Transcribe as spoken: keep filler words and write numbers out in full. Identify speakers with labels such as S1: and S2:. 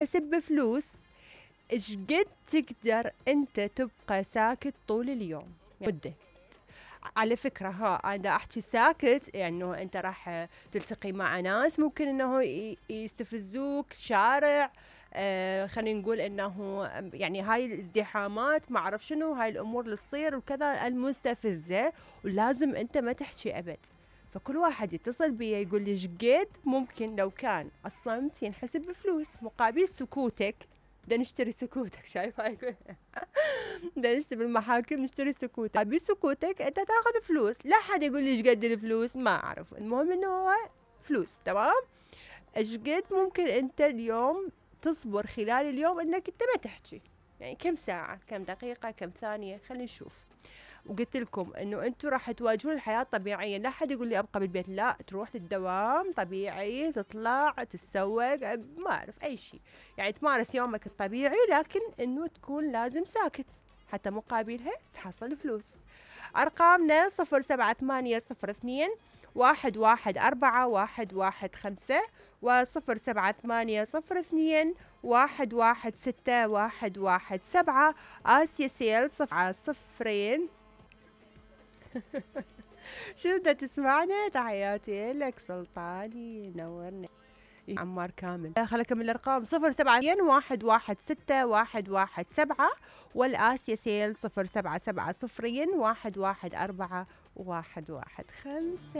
S1: تحسب بفلوس، ايش قد تقدر انت تبقى ساكت طول اليوم مدة. على فكرة ها انا احكي ساكت يعني انت راح تلتقي مع ناس ممكن انه يستفزوك شارع، آه خلينا نقول انه يعني هاي الازدحامات ما اعرف شنو، هاي الامور اللي تصير وكذا المستفزة، ولازم انت ما تحكي ابد. فكل واحد يتصل بي يقول لي ايش قد ممكن لو كان الصمت ينحسب بفلوس مقابل سكوتك. بدنا نشتري سكوتك، شايف هاي بدنا نشتري بالمحاكم نشتري سكوتك، بسكوتك انت تاخذ فلوس. لا حد يقول لي ايش قد الفلوس، ما اعرف، المهم انه هو فلوس. تمام؟ ايش قد ممكن انت اليوم تصبر خلال اليوم انك انت ما تحكي؟ يعني كم ساعة، كم دقيقة، كم ثانية، خلينا نشوف. وقلت لكم انه انتم راح تواجهون الحياه طبيعيا، لا حد يقول لي ابقى بالبيت، لا، تروح للدوام طبيعي، تطلع تتسوق، ما اعرف اي شيء، يعني تمارس يومك الطبيعي، لكن انه تكون لازم ساكت حتى مقابلها تحصل فلوس. ارقامنا صفر سبعة ثمانية صفر اثنين واحد واحد أربعة واحد واحد خمسة وصفر سبعة ثمانية صفر اثنين واحد واحد ستة واحد واحد سبعة. آسيا سيل صفحة صفرين. شو بدها تسمعنا؟ تحياتي لك سلطاني، نورنا عمار كامل. خليني اكمل الارقام صفر سبعة واحد واحد ستة واحد واحد سبعة والآسيا سيل صفر سبعة سبعة صفرين واحد واحد أربعة واحد واحد خمسة.